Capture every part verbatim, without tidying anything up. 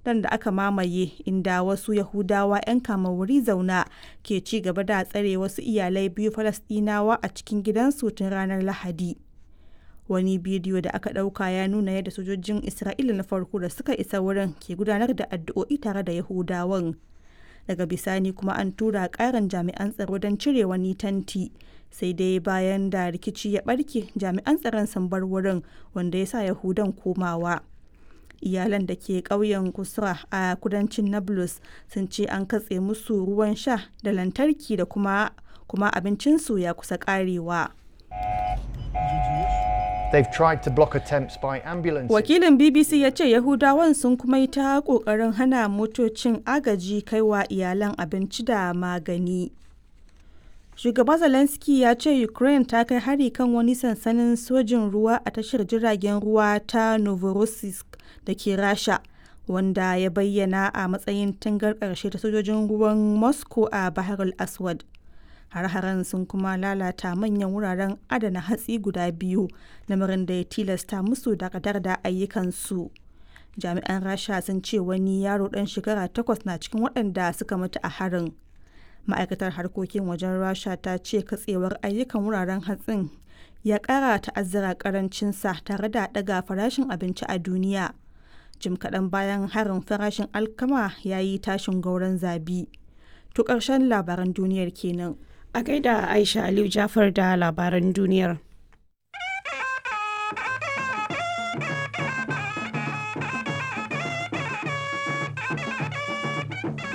dan da aka mamaye inda wasu Yahudawa 'yan kama wuri zauna ke ci gaba da tsare wasu iyalai biyu Falasɗinawa a cikin gidansu tun ranar Lahadi. Wani bidiyo da aka ɗauka ya nuna yadda sojojin Isra'ila na farko da suka isa wurin ke gudanar da addu'o'i tare da Yahudawan. Daga bisani kuma an tura ƙarin jami'an tsaro don cire wani tanti. Sai dai bayan da rikici ya ɓarke jami'an tsaron sun bar wurin wanda ya sa Yahudan komawa. Iyalan da ke ƙauyen Kusra a kudancin Nablus sun ce an katse musu ruwan sha da lantarki da kuma kuma abincinsu ya kusa ƙarewa. They've tried to block attempts by ambulances. Wakilin B B C ya ce Yahudawan sun kuma yi ta ƙoƙarin hana motocin agaji kaiwa iyalan abinci da magani. Shugaba Zelensky ya ce Ukraine ta kai hari kan wani sansanin sojin ruwa a tashar jiragen ruwa ta Novorossiysk da ke Rasha, wanda ya bayyana a matsayin tangar ƙarshe ta sojojin ruwan Moscow a Bahar al-Aswad. Har-haren sun kuma lalata manyan wuraren adana hatsi guda biyu, lamarin da ya tilasta musu dakatar da ayyukansu. Jami'an Rasha sun ce wani yaro ɗan shekara takwas na cikin waɗanda suka mutu a harin. Ma'aikatar harkokin wajen Rasha ta ce katsewar ayyukan wuraren hatsin ya kara ta'azzara karancinsa tare da daga farashin abinci a duniya. Jim kaɗan bayan harin farashin alkama ya yi tashin gauran zabi. To ƙarshen labaran duniyar kenan. A gaida Aisha Aliyu Jafar da labaran duniyar.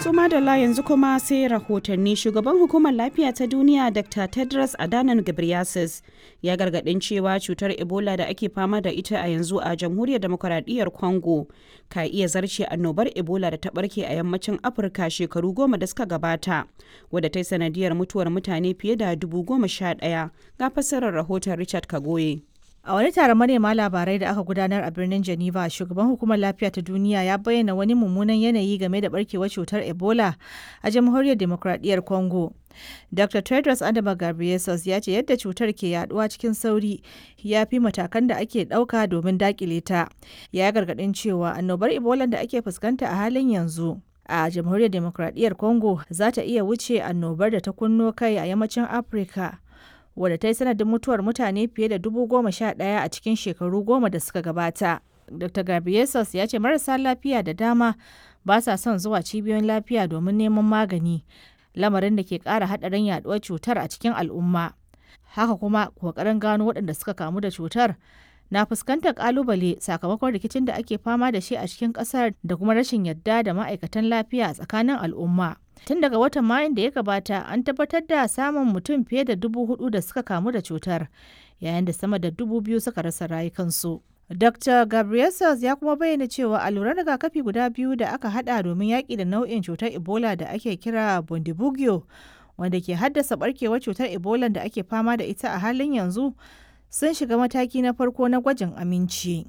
Su madalla, yanzu kuma sai rahotanni. Shugaban Hukumar Lafiya ta Duniya, Doctor Tedros Adhanom Ghebreyesus, ya gargadin cewa cutar Ebola da ake fama da ita a yanzu a Jamhuriyar Demokuraɗiyyar Congo ka iya zarce annobar Ebola da ta barke a yammacin Afirka shekaru goma da suka gabata, wadda ta yi sanadiyar mutuwar mutane fiye da dubu goma sha ɗaya. Ga fassarar rahoton Richard Kagoye. A wani taron manema labarai da aka gudanar a birnin Geneva, shugaban Hukumar Lafiya ta Duniya ya bayyana wani mummunan yanayi game da barkewar cutar Ebola a Jamhuriyar Demokradiyyar Congo. Doctor Tedros Adhanom Ghebreyesus ya ce yadda cutar ke yaduwa cikin sauri ya fi matakan da ake dauka domin dakile ta. Ya gargadin cewa annobar Ebola da ake fuskanta a halin yanzu a Jamhuriyar Demokradiyyar Congo za ta iya wuce annobar da ta kunno kai a yammacin Afirka, wadda ta yi sanadin mutuwar mutane fiye da dubu goma sha ɗaya a cikin shekaru goma da suka gabata. Doctor Ghebreyesus ya ce marasa lafiya da dama ba sa son zuwa cibiyoyin lafiya domin neman magani, lamarin da ke ƙara haɗarin yaduwar cutar a cikin al'umma. Haka kuma ƙoƙarin gano waɗanda suka kamu da cutar na fuskantar ƙalubale sakamakon rikicin da ake fama da shi a cikin ƙasar da kuma rashin yadda da ma'aikatan lafiya a tsakanin al'umma. Tun daga watan Mayun da ya gabata an tabbatar da samun mutum fiye da dubu hudu da suka kamu da cutar, yayin da sama da dubu biyu suka rasa rayukansu. Doctor Ghebreyesus ya kuma bayyana cewa alluran rigakafi guda biyu da aka hada domin yaƙi da nau'in cutar Ebola da ake kira Bundibugyo, wanda ke haddasa barkewar cutar Ebola da ake fama da ita a halin yanzu, sun shiga mataki na farko na gwajin aminci.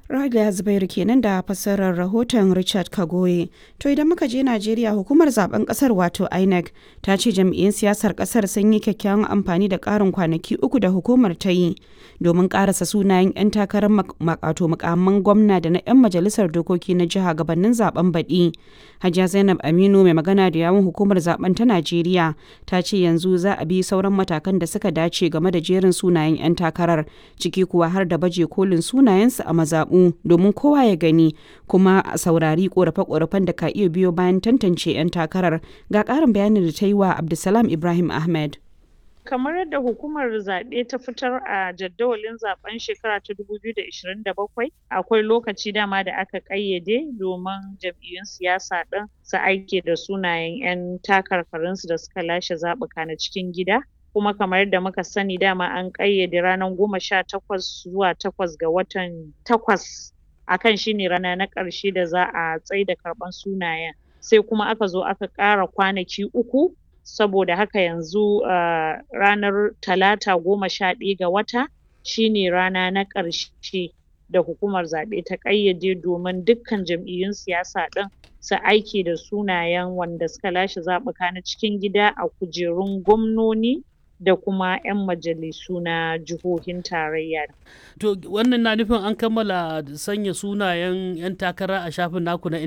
Raliya Zubairu kenan da fassarar rahoton Richard Kagoye. To idan muka je Najeriya, hukumar zaben kasar wato INEC ta ce jam'iyyun siyasar kasar sun yi kyakkyawan amfani da karin kwanaki uku da hukumar ta yi domin karasa sunayen 'yan takarar makato mukamman gwamna da na 'yan majalisar dokoki na jiha gabanin zaben baɗi. Hajiya Zainab Aminu, mai magana da yawun hukumar zaben ta Najeriya, ta ce yanzu za a bi sauran matakan da suka dace game da jerin sunayen 'yan takarar, ciki kuwa har da baje kolin sunayensu a mazaɓu domin kowa ya gani, kuma a saurari korafe-korafen da ka iya biyo bayan tantance 'yan takarar. Ga ƙarin bayanin da ta yi wa Abdulsalam Ibrahim Ahmed. Kamar yadda hukumar zaɓe ta fitar a jadawalin zaben shekara ta dubu biyu da ashirin da bakwai, akwai lokaci dama da aka ƙayyade domin jam'iyyun siyasa ɗin su aike da sunayen 'yan takarkarinsu da suka lashe zaɓuka na cikin gida. Kuma kamar yadda muka sani, dama an ƙayyade ranar goma sha takwas zuwa takwas ga watan takwas akan shine rana na ƙarshe da za a tsaida karɓan sunayen, sai kuma aka zo aka ƙara kwanaki uku. Saboda haka yanzu uh, ranar Talata goma sha ɗaya ga wata shine rana na ƙarshe da hukumar zaɓe ta ƙayyade domin dukkan jam'iyyun siyasa ɗin su aike da sunayen wanda suka lashe zaɓuka na cikin gida a kujerun gwamnoni da kuma 'yan majalisu na jihohin tarayya. To wannan na nufin an kammala sanya sunayen 'yan takara a shafin naku na intanet?